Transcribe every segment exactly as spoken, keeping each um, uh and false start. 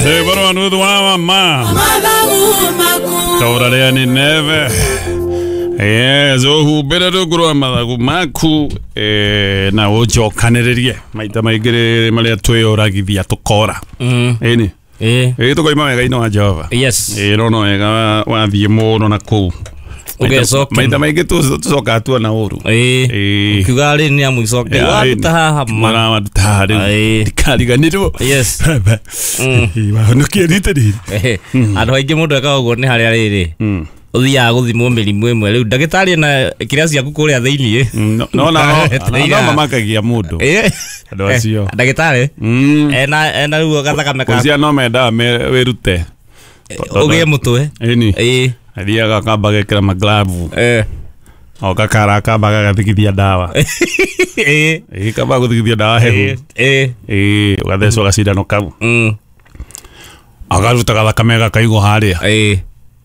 Bwana mama Taurarea ni neve. Yes, uhumbĩre rungu rwa mathagu maku eh, na ũnjokanĩrĩrie maita maingĩ marĩa twĩyũragithia tũkora. Ĩni ĩ tũkoima wega-inĩ wa Jehova. Yes. Ĩ no no wega wathiĩ mũno na kũu maita maingĩ tũcokaga tuona ũru. Ĩ ukiuga rĩ nĩ amũcoke waruta haha marawaruta haha rĩu ndikariganĩrwo. Yes. Wahonokie rita rĩrĩ. Andũ aingĩ mũndũ ekaga ũguo nĩ harĩa rĩrĩ ũthiaga gũthimwo mĩrimũ ĩmwe rĩu ndagĩtarĩ na kĩrĩa ciaku kũrĩa thĩiniĩ no no no mamakagia mũndũ andũ acio ndagĩtarĩ ena ena rĩu gathakame ka cia no mendaga wĩrute ũgĩe mũtwe. Ĩni ĩ athiaga akamba agekĩra maglavu eh o gakara akamba gagathigithia ndawa ĩ ĩ kamba gũthigithia ndawa hehu ĩ ĩ ũgathecwo gacindano kau agaruta gathakame gakaigwo harĩa ĩ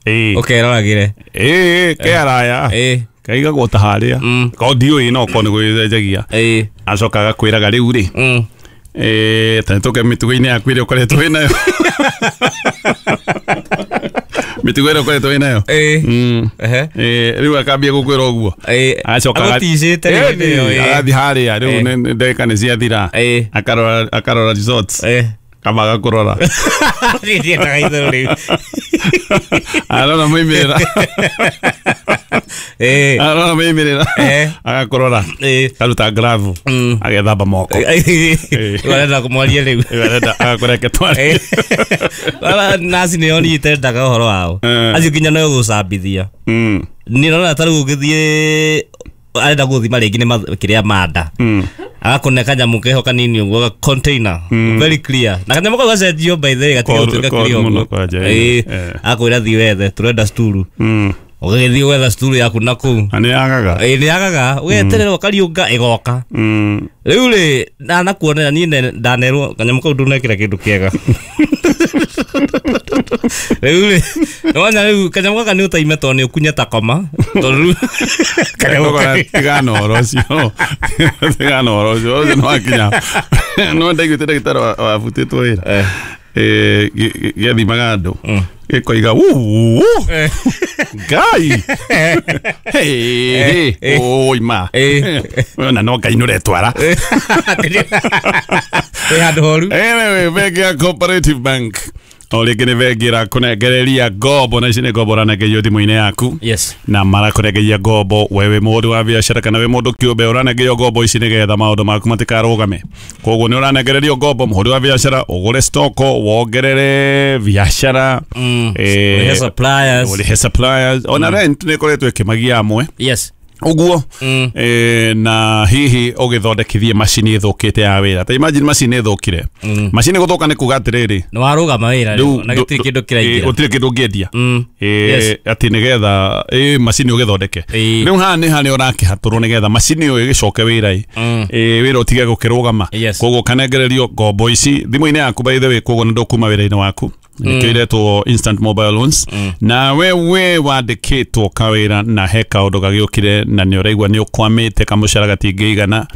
ĩ ũkeroragĩre ĩ ke araya ĩ kaigagwo ta harĩa ko ndiũĩ no ko nĩ gwĩcenjagia ĩ acoka agakwĩraga rĩu rĩ ĩ ta nĩtũke mĩtugo-inĩ yaku ĩrĩa ũkoretwo wĩnayo mĩtugo ĩrĩa ũkoretwo wĩnayo ĩ ĩ rĩu akambia gũkwĩra ũguo acoka agũticĩte agathiĩ harĩa rĩu ndagĩka nĩ ciathira akarora akarora results kama agakũrora ndiendaga itherũ rĩu arora moimĩrĩra arora moimĩrĩra agakũrora karuta glavu agethamba moko rĩu arenda kũmwaria rĩu arenda agakũreke twarie naci nĩo niĩ itendaga ũhoro wao acio nginya no gũcambithia niĩ ndona ta rĩu ũngĩthiĩ arenda gũthima rĩngĩ nĩ kĩrĩa manda agakũne kanyamũ keho kanini ũguo ga container very clear na kanyamũ kau gacenjio by the way gatiga gũtuĩka clear ũguo ĩ akwĩra thiĩ wethe tũrenda sturu ũgagĩthiĩ gwetha sturu yaku na kũu na nĩ yagaga ĩ nĩ yagaga ũgeterera ũkariũnga ĩgoka rĩu rĩ ndanakuonera niĩ ndanerwo kanyamũ kau ndũnekĩra kĩndũ kĩega rĩu rĩ nĩwona rĩu kanyamũ gaka nĩ ũtaime tondũ nĩ ũkunye ta koma tondũ rĩu kanyamũ tigana ũhoro ũcio tigana ũhoro ũcio ũcio nĩ wakinya no ndaiguĩte ndagĩtarĩ wabutĩtwo wĩra gĩathimaga andũ gĩkoiga wuu Ngai hey oi ma ona no Ngai nũretwara wĩ handũ horu. Anyway, bengi ya Cooperative Bank o rĩngĩ nĩ bengi ĩrakũnengereria ngombo na ici nĩ ngombo ũranengerio thimũ-inĩ yaku. Yes. Na marakũnengeria ngombo we wĩ mũndũ wa biacara kana wĩ mũndũ kĩũmbe ũranengerio ngombo ici nĩgetha maũndũ maku matikarũgame. Koguo nĩ ũranengererio ngombo mũhũri wa biacara ũgũre stoko wongerere biacara ũrĩhe suppliers ũrĩhe suppliers ona rent nĩ ĩkoretwo ĩkĩmagia amwe. Yes. Uguo mm. e, na hihi ũgĩthondekithie macini ĩthũkĩte ya wĩra ta imagine macini ĩthũkire mm. macini gũthũka nĩ kuga atĩrĩrĩ nĩ warũgama wĩra na gũtirĩ kĩndũ kĩraingĩra gũtirĩ kĩndũ ũngĩendia atĩ nĩgetha ĩ macini ũgĩthondeke rĩu haha nĩ harĩa ũrakĩhatũrwo nĩgetha macini ĩyo ĩgĩcoke wĩra ĩ wĩra ũtige gũkĩrũgama. Koguo ũkanengererio ngombo ici thimũ-inĩ yaku by the way koguo nĩ ndũkuma wĩra-inĩ waku nĩkĩo iretwo instant mobile loans na wewe wandĩkĩtwo kawĩra na he kaũndũ gagĩũkire na nĩ ũraigua nĩ ũkwamĩte kamũcara gatingĩigana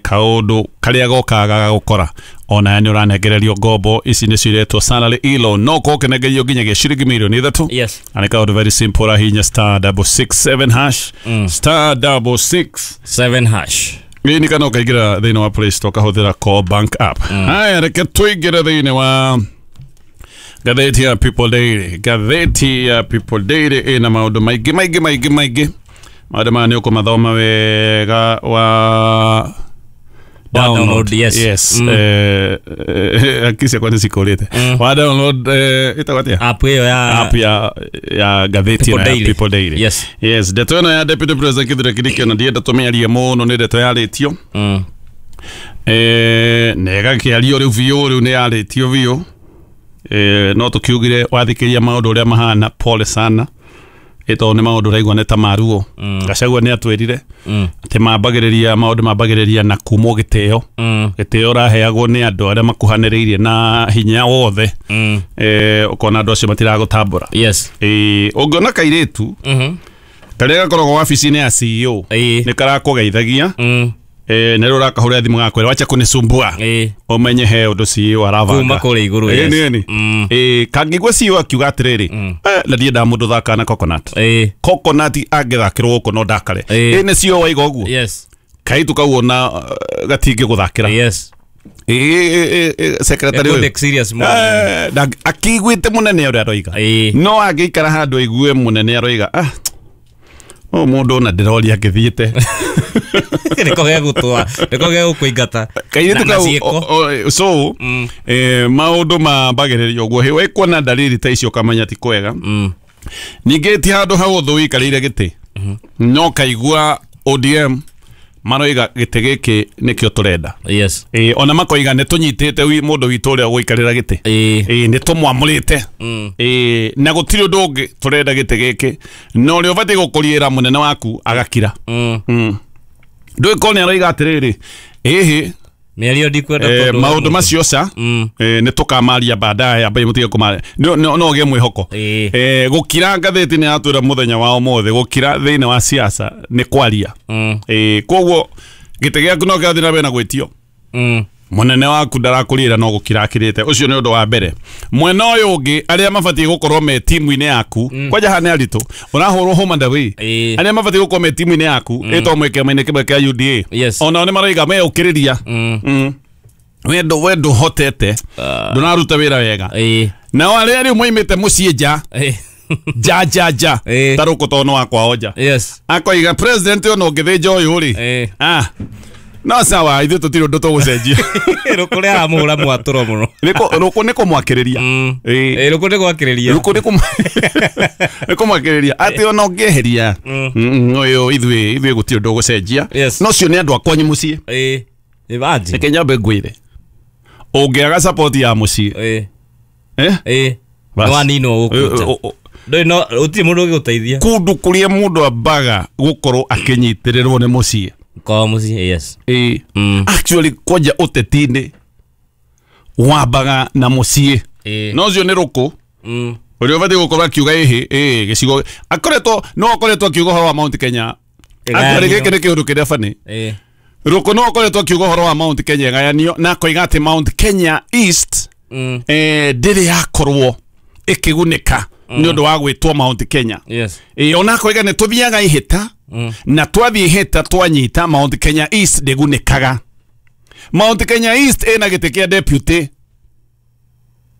kaũndũ karĩa gokaga gagagũkora ona nĩ ũranengererio ngombo ici nĩcio iretwo salary e-loan no ũkorwo ũkĩnengerio nginyagia ciringi mirioni ithatũ. Yes. Na nĩ kaũndũ very simple ũrahihinya star double six seven hash star double six seven hash ĩni kana ũkaingĩra thĩinĩ wa Play Store ũkahũthĩra Core Bank app. Haya reke tũingĩre thĩinĩ wa gatheti ya People Daily. Gatheti ya People Daily ĩna maũndũ maingĩ maingĩ maingĩ maingĩ maũndũ maya nĩ ũkũmathoma wega wa download. Yes. Yes. Eh akisi kwa nĩcikũrĩte wa download ĩtagwo atĩa app ĩyo ya app ya ya gatheti ya People Daily. Yes. Yes, ndeto ĩno ya Deputy President Kithure Kindiki ona ndienda tũmĩarie mũno nĩ ndeto yarĩtio eh na ĩgakĩario rĩu biũ rĩu nĩ yarĩtio biũ eh no tukiugire wathikĩria maũndũ ũrĩa mahana pole sana ĩtondũ nĩ maũndũ ũraigua nĩ ta maruo. Gachagua nĩ atwĩrire atĩ mambagĩrĩria maũndũ mambagĩrĩria na kumwo gĩtĩo gĩtĩo ũraheagwo nĩ andũ arĩa makuhanĩrĩirie na hinya wothe eh ũkona andũ acio matiragũtambũra. Yes. Eh ũngĩona kairĩtu karĩa gakoragwo wabici-inĩ ya C E O nĩ karakũgeithagia Eh nero rakahura thimu gakwira wacha kunisumbua. Eh umenye he undu C E O arabanga. Kuma kuri iguru. Eh nini. Eh kangigwa C E O akiuga atiriri. Eh na ndienda mundu thaka na coconut. Eh coconut angithakirwo guku no ndakare. Eh ni C E O waiga uguo. Yes. Kaitu kau ona gatingi guthakira. Yes. Eh eh secretary uyu serious mo. Eh akiguite munene uria aroiga. No angiikara handu aigue munene aroiga. Ah o mundu na ndiroria ngithiite. Niko gegutwa niko gegukuingata kairitu kau so eh maundu mambagiririo uguo he wekuona dalili ta icio kamenya ti kwega. Ningĩ ti handu hahũthũ wikarĩire gĩtĩ no kaigua O D M maroiga gĩtĩ gĩkĩ nĩkĩo tũrenda. Yes. Eh ona makoiga nĩ tũnyitĩte mũndũ witũ ũrĩa ũgũikarĩra gĩtĩ. Eh nĩ tũmwamũrĩte. Eh na gũtirĩ ũndũ ũngĩ tũrenda gĩtĩ gĩkĩ na ũrĩa ũbatiĩ gũkũriĩra mũnene waku agakira. Mm. Ndũĩ korwo nĩ aroiga atĩrĩrĩ ĩhĩ mĩario ndikwenda tondũ maũndũ macio ca eh nĩ tũkamaria baadaye ambai mũtige kũmaria no no ũgĩe mwĩhoko. Eh gũkira ngathĩti nĩ yatwĩra mũthenya wa ũmũthĩ gũkira thĩinĩ wa siasa nĩ kwaria. Eh koguo gĩtĩ gĩaku no kĩrathiĩ na mbere na gwĩtio. Mũnene waku ndarakũrĩra no gũkira akirĩte ũcio nĩ ũndũ wa mbere. Mwena ũyũ ũngĩ arĩa mabatiĩ gũkorwo me timu-inĩ yaku kwanja haha nĩ aritũ ũrahũrwo home and away arĩa mabatiĩ gũkorwo me timu-inĩ yaku ĩtwo mwĩ kĩama-inĩ kĩmwe kĩa U D A onao nĩ maroiga me ũkĩrĩria wendo wendo hotete ndũnaruta wĩra wega nao arĩa rĩu moimĩte mũciĩ nja ja ja ja ta rũkũ tondũ nĩ wakwao nja akoiga president ũyũ no ũngĩthĩnja ũyũ rĩ ah no sawa ithuĩ tũtirĩ ũndũ tũgũcenjia. Rũkũ rĩa aramũhũra mwatũro mũno. Rũkũ nĩ kũmwakĩrĩria. Ĩĩ rũkũ nĩ gwakĩrĩria. Rũkũ nĩ kũmwakĩrĩria atĩ ona ũngĩeheria ũyũ ithuĩ ithuĩ gũtirĩ ũndũ ũgũcenjia. No ũcio nĩ andũ a kwanyu mũciĩ. Ĩĩ imagine. Reke nyambe ngwĩre ũngĩaga support ya mũciĩ ĩĩ eh ĩĩ no waninwo gũkũ nja. Ndũĩ no gũtirĩ mũndũ ũngĩgũteithia. Kũndũ kũrĩa mũndũ ambaga gũkorwo akĩnyitĩrĩrwo nĩ mũciĩ. Kwa mũciĩ yes. Eh actually kwanja ũteti-inĩ wambaga na mũciĩ. No ũcio nĩ rũkũ ũrĩa ũbatiĩ gũkorwo akiuga ĩhĩ ĩĩ gĩcigo akoretwo no akoretwo akiuga ũhoro wa Mount Kenya. Actually gĩkĩ nĩ kĩũndũ kĩrĩa bani. Rũkũ no akoretwo akiuga ũhoro wa Mount Kenya ĩgayanio na akoiga atĩ Mount Kenya East eh ndĩrĩ yakorwo ĩkĩgunĩka nĩ ũndũ wa gwĩtwo Mount Kenya. Yes. Eh ona akoiga nĩ tũthiaga ihĩta na twathiĩ ihĩta twanyita Mount Kenya East ndĩgunĩkaga. Mount Kenya East ĩna gĩtĩ kĩa deputy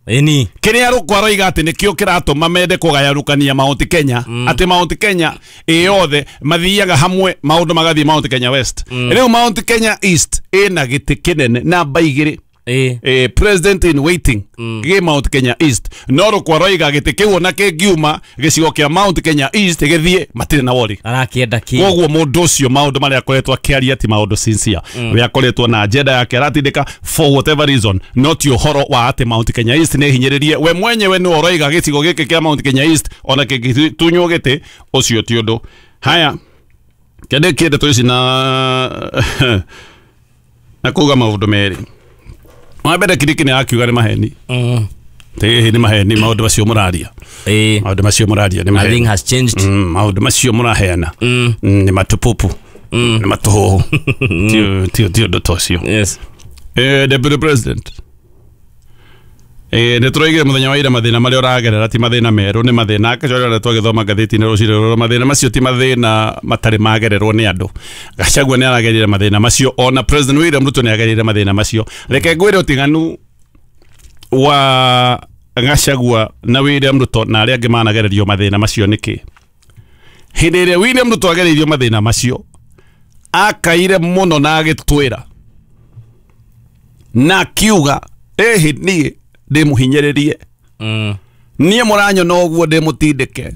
Ĩni kĩrĩa rũkũ aroiga atĩ nĩkĩo kĩratũma mende kũgayarũkania Mount Kenya atĩ Mount Kenya ĩ yothe mathiaga hamwe maũndũ magathiĩ Mount Kenya West. Rĩu Mount Kenya East ĩna gĩtĩ kĩnene namba igĩrĩ eh president in waiting gĩ Mount Kenya East no rũkũ aroiga gĩtĩ kĩu ona kĩngiuma gĩcigo kĩa Mount Kenya East gĩthiĩ matirĩ na wori arakĩenda kĩ koguo mũndũ ũcio maũndũ marĩa akoretwo akĩaria ti maũndũ sincere we akoretwo na agenda yake aratindĩka for whatever reason not ũhoro wa atĩ Mount Kenya East nĩ hinyĩrĩrie we mwenyewe nĩ ũroiga gĩcigo gĩkĩ kĩa Mount Kenya East ona kĩngĩtunywo gĩtĩ ũcio ti ũndũ. Haya kĩndĩ ndeto ici na na kuga maũndũ merĩ. Wa mbere Kindiki nĩ akiuga nĩ maheni. Ĩĩ nĩ maheni maũndũ macio mũraria. Ĩĩ maũndũ macio mũraria nĩ maheni. Nothing has changed. Maũndũ macio mũraheana nĩ matũpupu nĩ matũhũhũ ti ti ũndũ ta ũcio. Yes. Eh Deputy President eh nĩ tũroigire mũthenya wa ira mathĩna marĩa ũragerera ti mathĩna merũ nĩ mathĩna akĩcoria twagĩthoma ngathĩti-inĩ rũcinĩ rũrũ mathĩna macio ti mathĩna matarĩ magererwo nĩ andũ. Gachagua nĩ aragerire mathĩna macio ona President William Ruto nĩ agerire mathĩna macio. Reke ngwĩre ũtiganu wa Gachagua na William Ruto na arĩa angĩ managererio mathĩna macio nĩkĩ. Hĩndĩ ĩrĩa William Ruto agereirio mathĩna macio akaire mũno na agĩtwĩra na akiuga ĩhĩ niĩ ndĩmũhinyĩrĩrie niĩ mũranyona ũguo ndĩmũtindĩke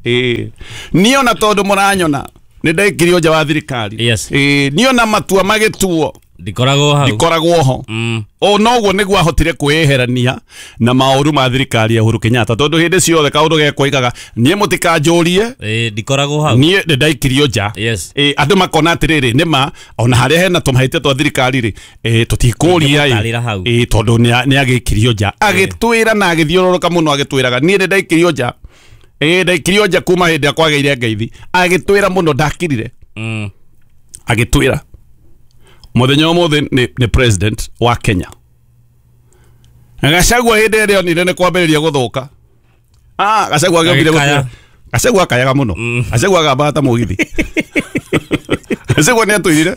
ĩĩ niĩ ona tondũ mũranyona nĩ ndaikirio nja wa thirikari ĩĩ niĩ ona matua magĩtuo ndikoragwo hau ndikoragwo ho o noguo nĩguo ahotire kwĩyeherania na maũru ma thirikari ya Uhuru Kenyatta tondũ hĩndĩ ciothe kaũndũ gekoigaga niĩ mũtikanjũrie ĩĩ ndikoragwo hau niĩ nĩ ndaikirio nja ĩĩ andũ makona atĩrĩrĩ nĩma ona harĩa hena tũmahĩtia twa thirikari rĩ ĩĩ tũtikũria ĩĩ tondũ nĩ agĩkirio nja agĩtwĩra na agĩthiũrũrũka mũno agĩtwĩraga niĩ nĩ ndaikirio nja ĩĩ ndaikirio nja kuma hĩndĩ ĩrĩa kwagĩire ngeithi agĩtwĩra mũno ndakirire agĩtwĩra Mũthenya ũmũthĩ nĩ nĩ president wa Kenya. Gachagua hĩndĩ ĩrĩa onire nĩ kwambĩrĩria gũthũka. Ah, Gachagua agĩokire gũtũra. Gachagua akayaga mũno. Gachagua agamba ta mũgithi. Gachagua nĩ atwĩrire.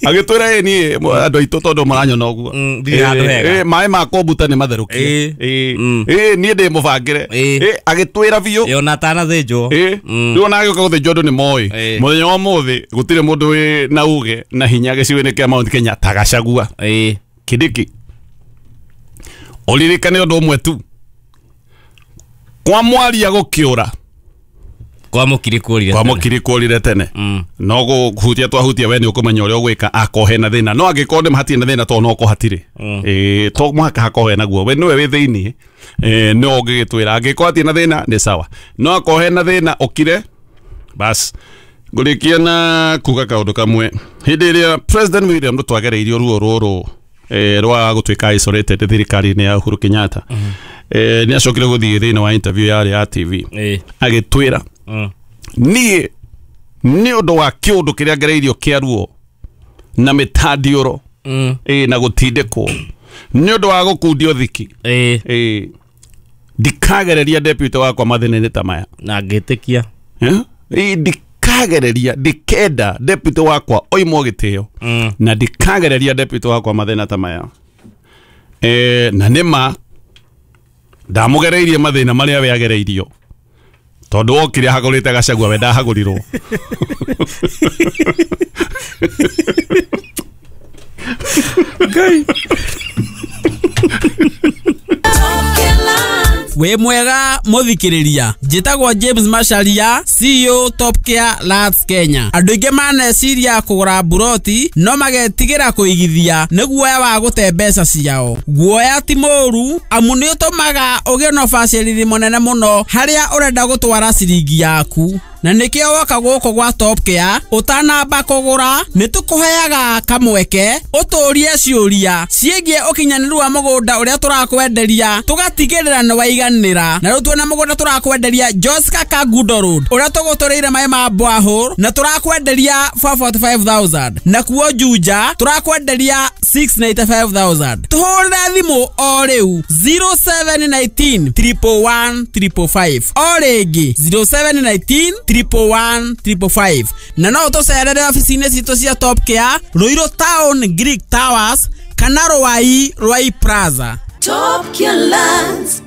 Agĩtwĩra ĩ niĩ andũ aitũ tondũ maranyona ũguo. Ĩ maĩ ma kombuta nĩ matherũkie. Ĩ niĩ ndĩ mũbangĩre. Ĩ agĩtwĩra biũ. Ĩ ona atanathĩnjwo. Ĩ rĩu ona agĩũka gũthĩnjwo andũ nĩ moĩ. Mũthenya wa ũmũthĩ gũtirĩ mũndũ wĩ na uge na hinya gĩcigo-inĩ kĩa Mount Kenya ta Gachagua. Ĩ Kindiki. Ũririkane ũndũ ũmwe tu. Kwa mwaria gũkĩũra. Kwa mũkiri kũrire. Kwa mũkiri kũrire tene. No gũhutia twahutia we nĩ ũkũmenya ũrĩa ũgwĩka akorwo hena thĩna. No angĩkorwo nĩ hatirĩ na thĩna tondũ no ko hatirĩ. Ĩ to mũhaka hakorwo hena guo. We nĩwe wĩ thĩinĩ. Ĩ no ũngĩgĩtwĩra angĩkorwo hatirĩ na thĩna nĩ sawa. No akorwo hena thĩna ũkire bas. Ngũrĩkia na kuga kaũndũ kamwe. Hĩndĩ ĩrĩa President William Ruto agereirio ruo rũrũ eh rwa gũtuĩka isolated thirikari-inĩ ya Uhuru Kenyatta. Eh nĩ acokire gũthiĩ thĩinĩ wa interview yarĩ ya T V. Agĩtwĩra niĩ nĩ ũndũ wa kĩũndũ kĩrĩa ngereirio kĩa ruo na mĩtandiũro ĩ na gũtindĩkwo nĩ ũndũ wa gũkundio thiki ĩ ndikagereria deputy wakwa mathĩna-inĩ ta maya. Na ngĩtĩkia. Ĩ ndikagereria ndikenda deputy wakwa oimwo gĩtĩo na ndikagereria deputy wakwa mathĩna ta maya. Eh na nĩma ndamũgereirie mathĩna marĩa we agereirio. Tondũ wokire hagũrĩte Gachagua we ndahagũrirwo. Ngai. Wĩ mwega mũthikĩrĩria, njĩtagwo James Macharia, C E O Top Care Lands Kenya. Andũ aingĩ maneciria kũgũra mburoti no magetigĩra kũigithia nĩ guoya wa gũte mbeca ciao. Guoya ti mũũru amu nĩ ũtũmaga ũgĩe na ũbacĩrĩri mũnene mũno harĩa ũrenda gũtwara ciringi yaku. Na nĩkĩo woka gũkũ gwa Top Care ũtanamba kũgũra nĩ tũkũheaga kamweke ũtũrie ciũria ciĩgiĩ ũkinyanĩru wa mũgũnda ũrĩa tũrakwenderia tũgatigĩrĩra nĩ waiganĩra. Na rĩu tuona mũgũnda tũrakwenderia Joska Kangundo Road ũrĩa tũgũtũrĩire maĩ ma borehole na tũrakwenderia four forty five thousand, na kuo Juja tũrakwenderia six ninety five thousand. Tũhũrĩre thimũ o rĩu zero seven nineteen triple one triple five, o rĩngĩ zero seven nineteen triple one triple five. Na no ũtũcerere ofici-inĩ citũ cia Top Care Ruiru Town Greek Towers kana Ruai Ruai Plaza. Top Care Lands.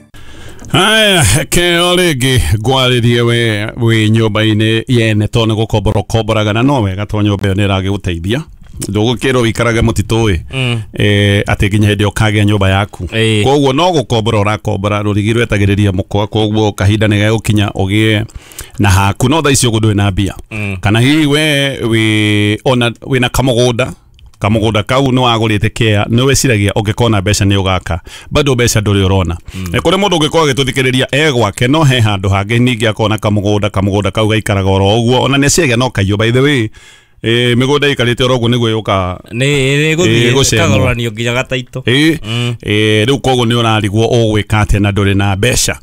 Haya, keo rĩngĩ ngwarĩrie we wĩ nyũmba-inĩ yene tondũ nĩ gũkombora ũkomboraga na no wega tondũ nyũmba ĩyo nĩ ĩragĩgũteithia. Ndũgũkĩrwo wĩikarage mũtitũ ĩ atĩ nginya hĩndĩ ĩyo ũkagĩa nyũmba yaku. Koguo no gũkombora ũrakombora rũrigi rwetagĩrĩria mũkwa, koguo kahinda nĩ gegũkinya ũgĩe na haku no thaa ici ũguo ndũrĩ na mbia. Kana hihi we wĩ ona wĩna kamũgũnda kamũgũnda kau nĩ wagũrĩte kea nĩ wĩciragia ũngĩkona mbeca nĩ ũgaka bado mbeca ndũrĩ ũrona. Kũrĩ mũndũ ũngĩkorwo agĩtũthikĩrĩria e gwake no he handũ hangĩ ningĩ akona kamũgũnda kamũgũnda kau gaikaraga oro ũguo ona nĩ aciragia no kaiywo. By the way eh mĩgũnda ĩikarĩte oro ũguo nĩguo yũka nĩ ĩgũthiĩ ĩkagũranio nginya gataitũ. Ĩ rĩu koguo nĩ ũrarigwo ũgwĩka atĩa na ndũrĩ na mbeca.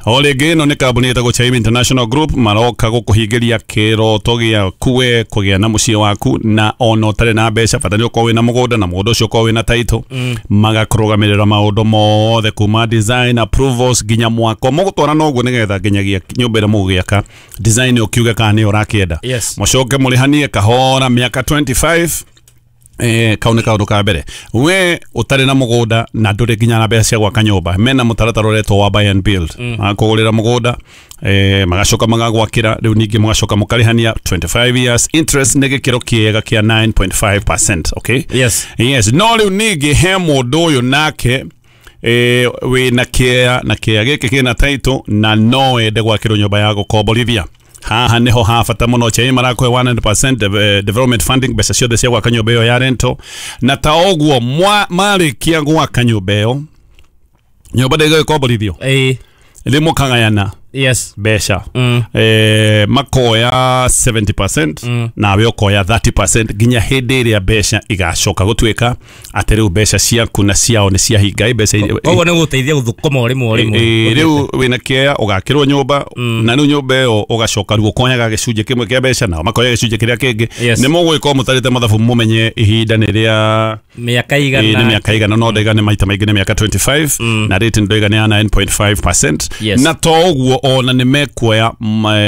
O rĩngĩ ĩno nĩ kambuni ĩtagwo Chaim International Group maroka gũkũhingĩria kĩroto gĩaku we kũgĩa na mũciĩ waku na ona ũtarĩ na mbeca bata nĩ ũkorwo wĩna mũgũnda na mũgũnda ũcio ũkorwo wĩna title magakũrũgamĩrĩra maũndũ mothe kuma design approvals nginya mwako mũgũtwara noguo nĩgetha nginyagia nyũmba ĩrĩa mũgũgĩaka design ũkiuge kana nĩ ũrakĩenda mũcoke mũrĩhanie kahora miaka twenty five. Eh kau nĩ kaũndũ ka mbere we ũtarĩ na mũgũnda na ndũrĩ nginya na mbeca cia gwaka nyũmba mena mũtaratara ũretwo wa buy and build makũgũrĩra mũgũnda eh magacoka magagwakĩra rĩu ningĩ mũgacoka mũkarĩhania twenty five years interest nĩ gĩkĩro kĩega kĩa nine point five percent. Okay, yes yes. No rĩu ningĩ he mũndũ ũyũ nake eh wĩna kĩa na kĩa gĩkĩ kĩna title na no ende gwakĩrwo nyũmba ya gũkomborithia. Haha niho ha bata muno Chaim marakwe one hundred percent development funding mbeca ciothe cia gwaka nyũmba ĩyo ya rento na ta ũguo marĩkia gwaka nyũmba ĩyo nyũmba ndĩgũkomborithio ĩ rĩ mũkagayana Yes. Mbeca. Mm. Eh, makoya seventy percent mm. nawe ũkoya thirty percent nginya hĩndĩ ĩrĩa mbeca igacoka gũtuĩka atĩ rĩu mbeca ciaku na ciao nĩ ciahinga mbeca. Koguo nĩ gũteithia gũthũkũma ũrĩmwe ũrĩmwe. Rĩu wĩna kĩea ũgakĩrwo nyũmba na rĩu nyũmba ĩyo ũgacoka rĩu ũkonyaga gĩcunjĩ kĩmwe kĩa mbeca nao makoya gĩcunjĩ kĩrĩa kĩngĩ. Nĩ mũgũgĩkorwo mũtarĩte mathabu mũmenye ihinda nĩ rĩa mĩaka igana, nĩ mĩaka igana no ndaiga nĩ maita maingĩ nĩ mĩaka twenty-five mm. na rate ndaiga nĩ ya nine point five percent. Yes. Na to ũguo ona nĩ mekuoya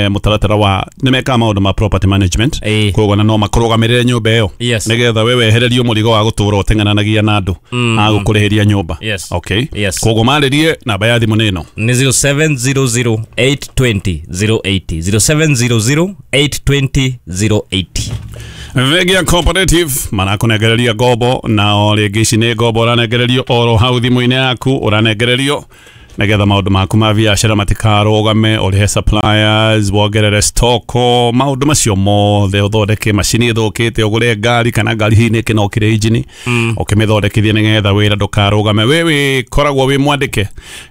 mũtaratara wa nĩ mekaga maũndũ ma property management koguo na no makũrũgamĩrĩre nyũmba ĩyo. Nĩgetha we wehererio mũrigo wa gũtũra ũteng'ananagia na andũ mm. a gũkũrĩhĩria nyũmba. Yes. Okay. Yes. Koguo marĩrie namba ya thimũ nĩ ĩno nĩ zero seven zero zero eight twenty zero eighty zero seven zero zero eight twenty zero eighty. Vengia Cooperative marakunengereria ngombo na o rĩngĩ ici nĩ ngombo ũranengererio oro hau thimũ-inĩ yaku ũranengererio nĩgetha maũndũ maku ma biacara matikarũgame, ũrĩhe suppliers, wongerere stoko, maũndũ macio mothe, ũthondeke macini ĩthũkĩte, ũgũre ngari kana ngari hihi nĩ ĩkĩnokire injini ũkĩmĩthondekithie nĩgetha wĩra ndũkarũgame. We wĩkoragwo wĩ mwandĩke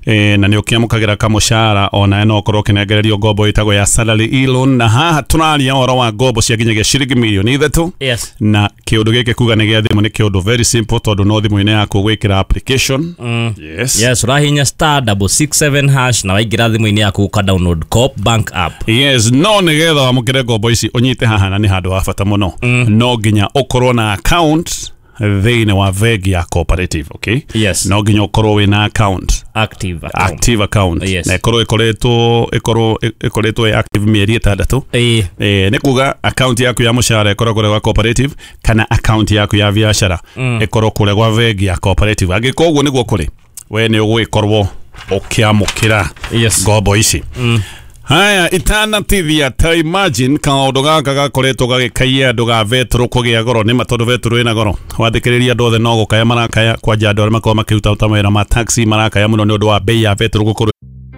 e, na nĩ ũkĩamũkagĩra kamũcara ona no ũkorwo ũkĩnengererio ngombo ĩtagwo ya salary e-loan, na haha tũraria ũhoro wa ngombo cia nginyagia ciringi mirioni ithatũ. Yes. Na kĩũndũ gĩkĩ kuga nĩ gĩa thimũ nĩ kĩũndũ very simple tondũ no thimũ-inĩ yaku gwĩkĩra application. Mm. Yes. Yes, ũrahihinya star double six seven hash na waingĩra thimũ-inĩ yaku ũka download Co-op Bank app. Yes, no nĩgetha wamũkĩre ngombo ici ũnyite haha na nĩ handũ ha bata mũno. Mm. No nginya ũkorwo na account thĩinĩ wa bengi ya Cooperative, okay? Yes. No nginya ũkorwo wĩna account. Active account. Active account. Yes. Na ĩkorwo ĩkoretwo ĩkorwo ĩkoretwo ĩ active mĩeri ĩtandatũ. Ĩĩ. Eh, nĩ kuga account yaku ya mũcara ĩkorwo kũrĩa gwa Cooperative kana account yaku ya biacara Mm. ĩkorwo kũrĩa gwa bengi ya Cooperative. Angĩkorwo ũguo nĩguo kũrĩ, we nĩ ũgũgĩkorwo ũkĩamũkĩra Yes. ngombo ici. Mm. Haya, itanatithia ta imagine kaũndũ gaka gakoretwo gagĩkaia andũ ga betũrũ kũgĩa goro nĩ ma tondũ betũrũ ĩna goro. Wathikĩrĩria andũ othe no gũkaya marakaya kwanja andũ arĩa makoragwo makĩruta ta mawĩra ma taxi marakaya mũno nĩ ũndũ wa bei ya betũrũ gũkorwo.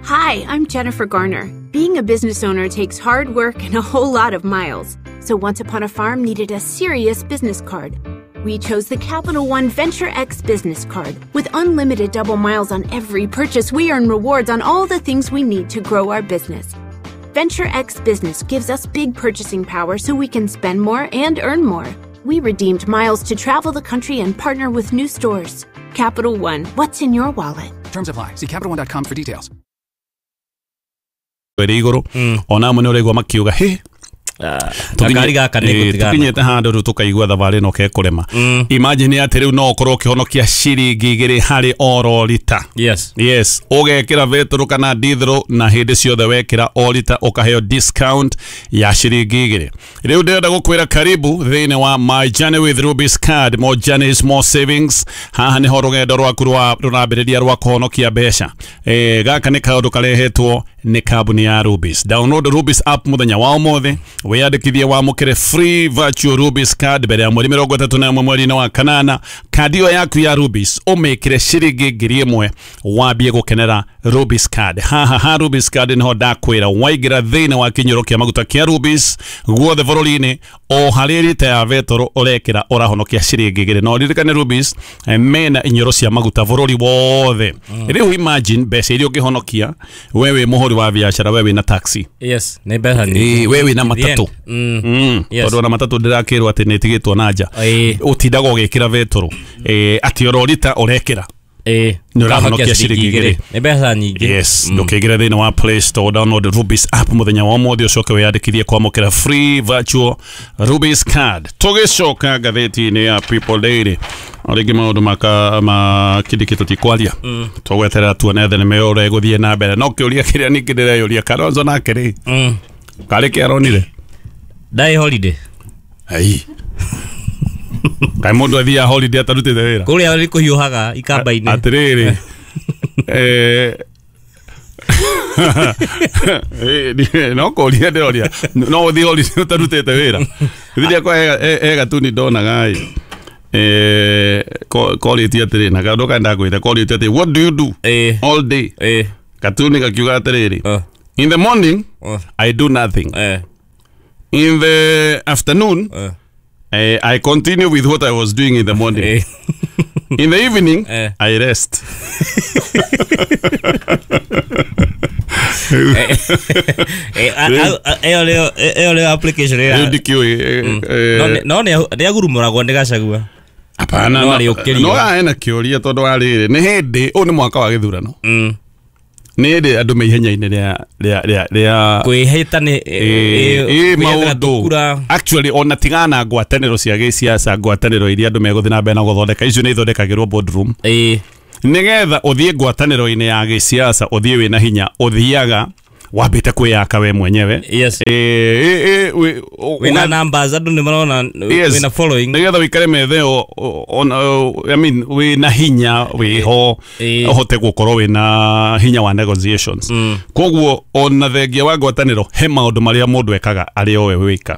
Hi, I'm Jennifer Garner. Being a business owner takes hard work and a whole lot of miles. So Once Upon a Farm needed a serious business card. We chose the Capital One Venture X business card. With unlimited double miles on every purchase, we earn rewards on all the things we need to grow our business. Venture X Business gives us big purchasing power so we can spend more and earn more. We redeemed miles to travel the country and partner with new stores. Capital One, what's in your wallet? Terms apply. See Capital One dot com for details. Ĩrĩ igũrũ ona amwe nĩ ũraigua makiuga hĩ ngari gaka nĩ gũtigana tũkinyĩte handũ rĩu tũkaigua thabarĩ ĩno kekũrema. Imagine atĩ rĩu no ũkorwo ũkĩhonokia ciringi igĩrĩ harĩ oro rita. Yes. Yes, ũgekĩra betũrũ kana dithro na hĩndĩ ciothe wekĩra o rita ũkaheo discount ya ciringi igĩrĩ. Rĩu ndĩrenda gũkwĩra karibu thĩinĩ wa My Journey with Rubis card, more journeys more savings. Haha nĩho rũgendo rwaku rwa rũrambĩrĩria rwa kũhonokia mbeca. Eh, gaka nĩ kaũndũ karehetwo nĩ kambuni ya Rubis. Download Rubis app mũthenya wa ũmũthĩ wiyandĩkithie wamũkĩre free virtual Rubis card mbere ya mweri mĩrongo ĩtatũ na ĩmwe mweri-inĩ wa kanana. Kandi ĩyo yaku ya Rubis ũmĩkĩre ciringi ngiri ĩmwe wambie gũkenera Rubis card. Haha ha Rubis card nĩho ndakwĩra waingĩra thĩinĩ wa kĩnyũro kĩa maguta kĩa Rubis guothe bũrũri-inĩ o harĩ rita ya betũrũ ũrekĩra ũrahonokia ciringi igĩrĩ. No ririkane Rubis mena inyũrũ cia maguta bũrũri wothe. Rĩu imagine mbeca iria ũngĩhonokia we wĩ mũhũri wa biacara, we wĩna taxi. Yes, nĩ mbeca nyingĩ. We wĩna matatũ. Mm. Mm. Yes. Tondũ ona matatũ ndĩrakĩrwo atĩ nĩ ĩtigĩtwo na nja ũtindaga ũgĩkĩra betũrũ atĩ oro rita ũrekĩra Ĩĩ, nĩ ũrahonokia ciringi igĩrĩ. Nĩ mbeca nyingĩ. Yes, ndũkĩingĩre thĩinĩ wa Play Store, download Rubis app mũthenya wa ũmũthĩ ũcoke wĩyandĩkithie kwamũkĩra free virtual Rubis card. Tũgĩcoka ngathĩti-inĩ ya People Daily o rĩngĩ maũndũ maka makindĩkĩtwo ti kwaria tũgweterera tuone thenema ĩyo ũrĩa ĩgũthiĩ na mbere. No kĩũria kĩrĩa ningĩ ndĩreyũria Kalonzo nake rĩ karĩ kĩ aronire Ndarĩ holiday. Ai. Kaĩ mũndũ athiaga holiday atarutĩte wĩra kũrĩa nĩ kũhiũhaga ikamba-inĩ. Atĩrĩrĩ eh no kũria ndĩroria no ũthiĩ holiday ũtarutĩte wĩra. Rĩrĩa kwa he gatuni ndonaga ĩ eh korĩtie atĩrĩ na kaũndũ kaenda kwĩra korĩtie atĩ what do you do all day? Katuni gakiuga atĩrĩrĩ in the morning I do nothing. In the afternoon uh. Uh, I continue with what I was doing in the morning. Eh. In the evening, eh. I rest. Ĩyo nĩyo ĩyo nĩyo application ĩrĩa ndikĩũĩ. No nĩ agurumũragwo nĩ Gachagua. Hapana, no no ena kĩũria tondũ wa rĩrĩ nĩ hĩndĩ ũyũ nĩ mwaka wa gĩthurano. Nĩ hĩndĩ andũ me ihenya-inĩ rĩa rĩa rĩa rĩa kwĩhĩta nĩ maũndũ. Actually ona tigana ngwatanĩro cia gĩciaca, ngwatanĩro iria andũ megũthiĩ na mbere na gũthondeka icio nĩ ithondekagĩrwo boardroom. Nĩgetha ũthiĩ ngwatanĩro-inĩ ya gĩciaca ũthiĩ wĩna hinya, ũthiaga wambĩte kwĩyaka we mwenyewe. Yes. Eh eh wĩna numbers andũ nĩ marona wĩna following. Nĩgetha wĩikare methe on I mean wĩna hinya wĩho ũhote gũkorwo wĩna hinya wa negotiations. Koguo ona thengia wa ngwatanĩro he maũndũ marĩa mũndũ ekaga arĩ o we wĩka.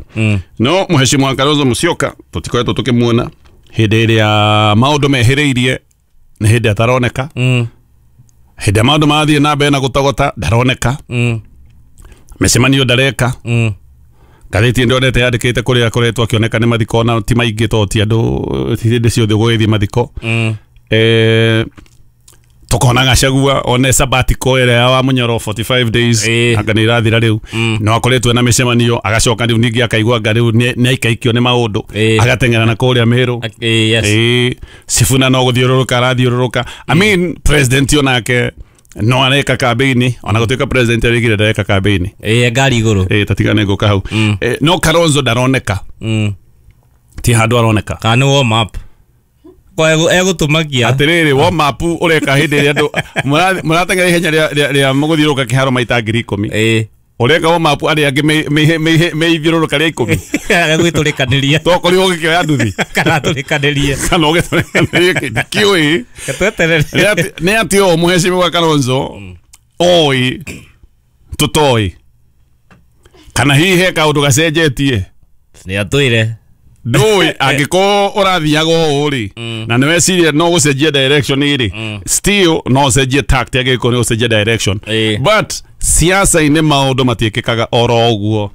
No Mheshimiwa Kalonzo Musyoka tũtikoretwo tũkĩmuona hĩndĩ ĩrĩa maũndũ mehĩrĩirie nĩ hĩndĩ ataroneka. Hĩndĩ maũndũ marathiĩ na mbere na gũtogota ndaroneka. Mĩcemanio ndareka. Ngathĩti ndonete yandĩkĩte kũrĩa akoretwo akĩoneka nĩ mathiko na ti maingĩ to ti andũ hĩndĩ ciothe gũgĩthiĩ mathiko. Eh tukona Gachagua one sabbatical ĩrĩa ya wa Munyoro forty-five days anga nĩ irathira rĩu no akoretwo na mĩcemanio agacoka rĩu ningĩ akaigua anga rĩu nĩ aikaikio nĩ maũndũ agateng'era na kũrĩa Meru. Eh Sifuna no gũthiũrũrũka arathiũrũrũka. I mean president onake no areka campaign ona gũtuĩka president arigire ndareka campaign. Eh ngari igũrũ. Eh tatigane ngũka hau. No Kalonzo ndaroneka. Ti handũ aroneka. Kana warm up. Kwa egũtũmakia atiriri warm up ũreka hĩndĩ ĩrĩa andũ mũrateng'era ihenya rĩa mũgũthiũrũrũka kĩharo maita ngiri ikũmi. Ũreka warm up arĩa angĩ meithiũrũrũka rĩa ikũmi. Agagwĩtũrĩkanĩria. Tokorirwo ũgĩkĩoya nduthi. Kana atũrĩkanĩrie. Kana ũgĩtũrĩkanĩrie ndikĩũĩ. Tweterere. Nĩ atĩ o Mheshimiwa Kalonzo oĩ tũtoĩ kana hihi he kaũndũ gacenjetie. Nĩ atwĩre. Ndũĩ angĩkorwo ũrathiaga ũũ rĩ na nĩ weciria no gũcenjia direction rĩ still no ũcenjie tact angĩkorwo nĩ gũcenjia direction. But siasa-inĩ maũndũ matiĩkĩkaga oro ũguo.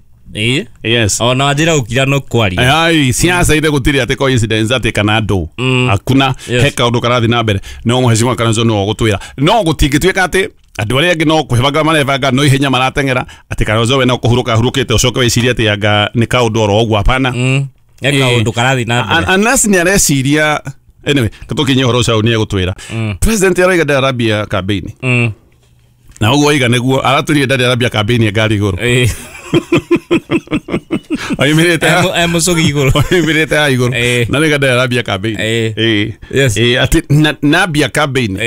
Yes. Ona wanjĩra gũkira no kwaria. Ai siasa-inĩ gũtirĩ atĩ coincidence atĩ kana andũ hakuna he kaũndũ karathiĩ na mbere. No Mheshimiwa Kalonzo no ũgũtwĩra no gũtingĩtuĩka atĩ andũ arĩa angĩ no kwĩbanga marebanga no ihenya marateng'era atĩ Kalonzo we no kũhurũka ahurũkĩte ũcoke wĩcirie atĩ anga nĩ kaũndũ oro ũguo. Hapana. Kaũndũ karathiĩ na mbere. Anas nĩ areciria anyway tũkinye ũhoro ũcio nĩ egũtwĩra. President arauga ndarambia campaign. Na ũguo oiga nĩguo aratwĩrire ndarĩ arambia campaign ngari igũrũ. Oimĩrĩte e mũcũgi igũrũ. Oimĩrĩte ha igũrũ. Na nĩga ndarĩ arambia campaign. Eh atĩ nambia campaign.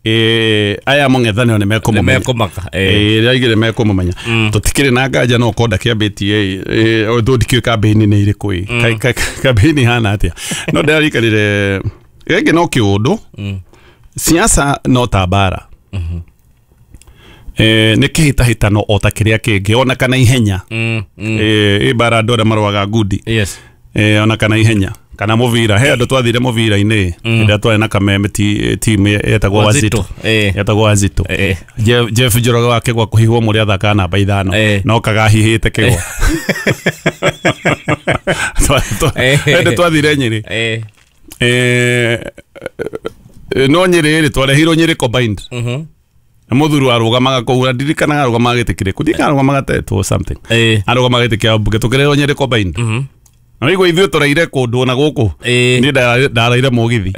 Eh aya mũng'ethanĩro nĩ mekũmũmenya. Nĩmekũmaka. Eh rĩaigire mekũmũmenya. Tũtikĩrĩ na nganja no ũkorwo ndakĩambĩtie eh ũndũ ndikĩũĩ campaign nĩ irĩkũ ĩ. Campaign ihana atĩa. No ndĩrarikanire rĩngĩ no kĩũndũ. Siasa no ta mbara. Eh nĩ kĩhĩtahĩtano o ta kĩrĩa kĩngĩ ona kana ihenya. Eh ĩ mbara andũ arĩa marũaga ngundi. Yes. Eh ona kana ihenya. Kana mũbira he andũ twathire mũbira-inĩ hĩndĩ twarĩ na Kameme team yetagwo Wazito. Yetagwo Wazito. Jeff Jeff Njoroge wa kĩgwa kũhihwo mũrĩ athakaga namba ithano no kagahihĩte kĩgwa. Hĩndĩ twathire Nyĩrĩ. Eh no Nyĩrĩ rĩ twarehirwo Nyĩrĩ combined. Na mũthuri arũgamaga kũu ndirikanaga arũgamaga gĩtĩ kĩrĩkũ ndirikanaga arũgamaga tetwo something. Arũgamaga gĩtĩ kĩa mbunge tũkĩrehwo Nyĩrĩ combined. Na wigua ithuĩ tũraire kũndũ na gũkũ niĩ ndaraire mũgithi.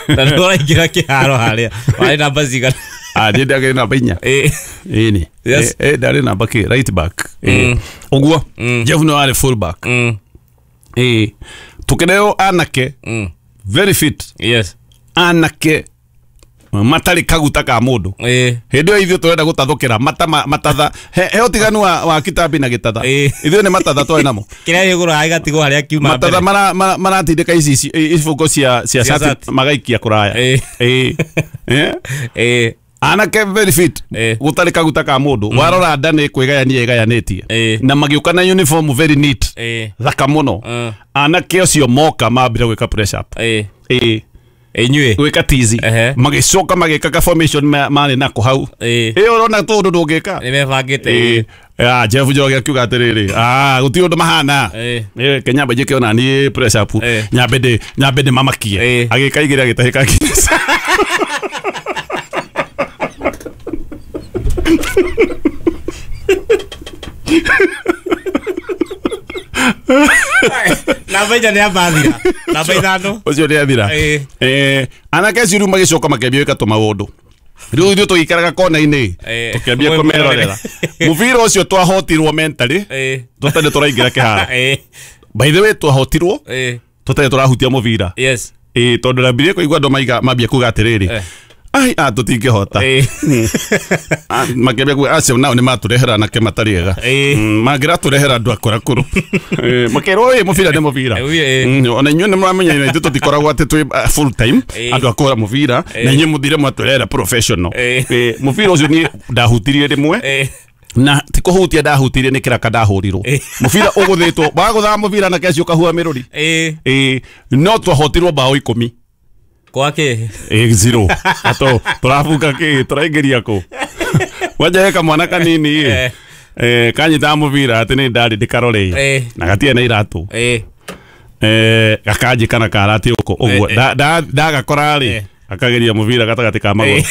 Na nĩ ũraingĩra kĩharo harĩa warĩ namba cigana? Ah niĩ ndakĩrĩ namba inya. Ĩni ndarĩ namba kĩ right back. Ũguo Jeff no arĩ full back. Ĩĩ tũkĩrehwo anake very fit. Yes. Anake matarĩ kaguta ka mũndũ. Hĩndĩ ĩyo ithuĩ tũrenda gũtathũkĩra mata matatha he ũtiganu wa wa kitambi na gĩtatha. Ithuĩ nĩ matatha twarĩ namo. Kĩrĩa gĩgũrũ gĩgatigwo harĩa kiuma mbere. Matatha maratindĩka ici ibungo cia cia cati magaikia kũraya. Ĩĩ. Anake very fit gũtarĩ kaguta ka mũndũ. Warora nda nĩ kwĩgayania ĩgayanĩtie. Na magĩũka na uniform very neat. Thaka mũno. Anake acio moka mambire gwĩka press up. Ĩĩ. Inyuĩ gwĩka tizi magĩcoka magĩka ka formation marĩ nako hau. Ĩĩ ũrona tũndũ ndũngĩka. Nĩ mebangĩte. Ah Jeff Njoroge akiuga atĩrĩrĩ ah gũtirĩ ũndũ mahana. Ĩĩ Kenya njĩke ona niĩ press up nyambe ndĩ nyambe ndĩmamakie. Agĩka igĩrĩ agĩtahĩka. Namba inya nĩ ambathira. Namba ithano. Ũcio nĩ athira. Eh, anake acio rĩu magĩcoka makĩambia gwĩka tũmaũndũ. Rĩu ithuĩ tũgĩikaraga kona-inĩ tũkĩambia kũmerorera. Mũbira ũcio twahotirwo mentally tũtarĩ tũraingĩra kĩharo. By the way twahotirwo tũtarĩ tũrahutia mũbira. Yes. Ĩĩ tondũ ndambirie kũigua andũ maiga mambia kuga atĩrĩrĩ ai a tũtingĩhota. Makĩambia kuga acio nao nĩ matũrehera anake matarĩ ega. Mangĩratũrehera andũ akũrakũrũ. Makerwo ĩ mũbira nĩ mũbira. Ona inyuĩ nĩ mũramenya ithuĩ tũtikoragwo atĩ twĩ full time andũ akũra mũbira na inyuĩ mũthire mwatũrehera professional. Mũbira ũcio niĩ ndahutirie rĩmwe na ti kũhutia ndahutirie nĩ kĩraka ndahũrirwo. Mũbira ũgũthĩtwo wagũthaga mũbira na keci ũkahua mĩrũri. Ĩĩ no twahotirwo bao ikũmi. Kwake eh zero ato tũrabuka kĩ tũraingĩria kũ wanja heka mwana kanini eh eh kanyita mũbira atĩ nĩ ndarĩ ndĩkarore na gatirĩ na iratũ eh eh gakanjĩka na karati ũko ũguo ndagakora rĩ akageria mũbira gatagatĩ ka magũrũ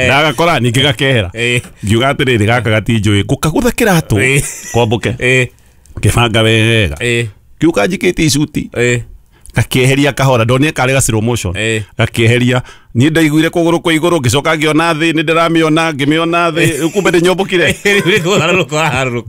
ndagakora ningĩ gakehera ngiuga atĩrĩrĩ gaka gatinjũĩ ngũkagũtha kĩratũ kwambũke ngĩbanga wega kĩu kanjikĩtie icuti gakĩeheria kahora ndonire karĩ ga slow motion gakĩeheria niĩ ndaiguire kũgũrũ kwa igũrũ ngĩcoka ngĩona thĩ nĩ ndĩramĩona ngĩmĩona thĩ kumbe nĩ nyũmbũkire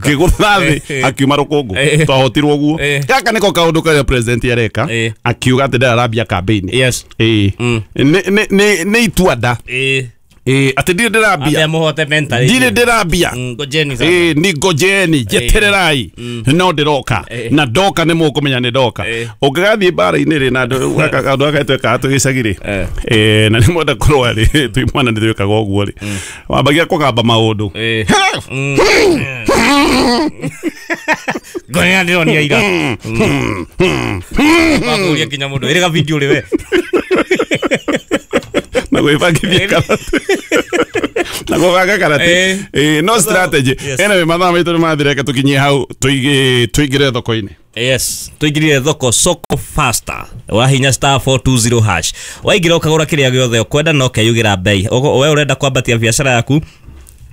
ngĩgũtha thĩ akiuma rũkũngũ twahotirwo ũguo gaka nĩko kaũndũ karĩa president areka akiuga atĩ ndararambia campaign. Yes. Ĩĩ nĩ nĩ itua nda ĩĩ atĩ ndirĩ ndĩrambia ndirĩ ndĩrambia ĩĩ ni ngojeni njetererai no ndĩroka na ndoka nĩ mũkũmenya nĩ ndoka ũngĩgathiĩ mbara-inĩ rĩ na andũ aka twekaga twĩ gĩcagi rĩ ĩĩ na nĩ mwenda kũrũa rĩ twĩ mwana nĩ twĩkaga ũguo rĩ wambagia kũgamba maũndũ ngonia ndĩronia ira wakũria nginya mũndũ ĩrĩ ga video rĩ we na gwĩbangithia karate na gwĩbanga karate eh no strategy. Anyway mathaa maitũ nĩ mathira reke tũkinyie hau tũingĩre thoko-inĩ. Yes, tuingirire thoko soko faster wahinya star four two zero hash waingira ukagura kiria giothe ukwenda no keyugira bei we urenda kwambatia biacara yaku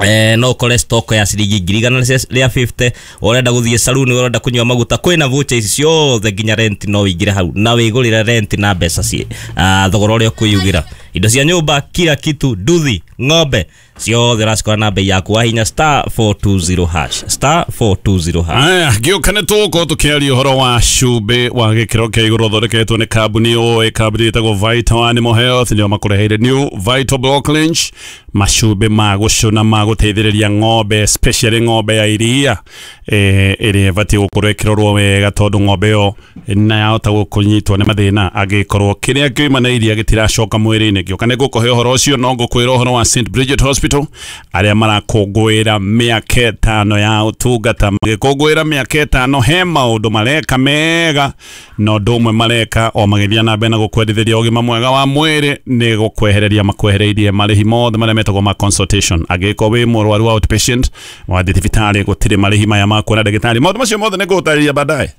eh no ukore stock ya ciringi ngiri igana rĩa fifty urenda guthie saluni urenda kunyua maguta kwina voucher ici ciothe nginya rent no wingire hau na wigurire rent na mbeca ci thogora uria kwiyugira indo cia nyumba kila kitu nduthi ng'ombe ciothe uracikora na bei yaku wahinya star four two zero hash star four two zero hash. Aya ngĩũka nĩ tũgũkorwo tũkĩaria ũhoro wa cumbĩ wa gĩkĩro kĩa igũrũ ũthondeketwo nĩ kambuni ũĩ kambuni ĩtagwo Vital Animal Health nĩo makũreheire New Vital Block Lynch macumbĩ ma gũcũna ma gũteithĩrĩria ng'ombe especially ng'ombe ya iria eh ĩrĩa ĩbatiĩ gũkorwo ĩkĩrorwo wega tondũ ng'ombe ĩyo na yahota gũkũnyitwo nĩ mathĩna angĩkorwo kĩrĩa kĩuma na iria gĩtiracoka mwĩrĩ-inĩ. Ngĩũka nĩ ngũkũhe ũhoro ũcio no ngũkwĩra ũhoro wa Saint Bridget Hospital arĩa marakũngũĩra mĩaka ĩtano ya ũtungata magĩkũngũĩra mĩaka ĩtano he maũndũ mareka mega na ũndũ ũmwe mareka o magĩthiĩ na mbere na gũkwendithĩria ũgima mwega wa mwĩrĩ nĩ gũkwehereria makwehereirie marĩhi mothe marĩa metagwo ma consultation angĩkorwo wĩ mũrwaru wa outpatient wathiĩ thibitarĩ gũtirĩ marĩhi maya ma kuona ndagĩtarĩ maũndũ macio mothe nĩ ngũgũtarĩria baadaye.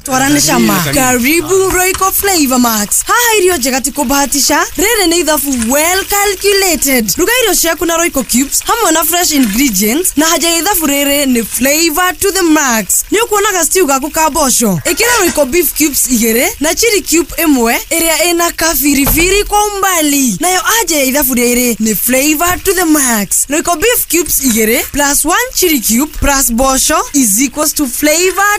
Twarane cama. Karibu Royco Flavor Max. Haha irio njega ti kũbahatisha. Rĩrĩ nĩ ithabu well calculated. Ruga irio ciaku na Royco cubes hamwe na fresh ingredients na haja ya ithabu rĩrĩ nĩ flavor to the max. Nĩ ũkuona ga stew gaku ka mboco. Ĩkĩra Royco beef cubes igĩrĩ na chili cube ĩmwe ĩrĩa ĩna kabiribiri kwa umbali. Nayo haja ya ithabu rĩrĩ nĩ flavor to the max. Royco beef cubes igĩrĩ plus one chili cube plus mboco is equals to flavor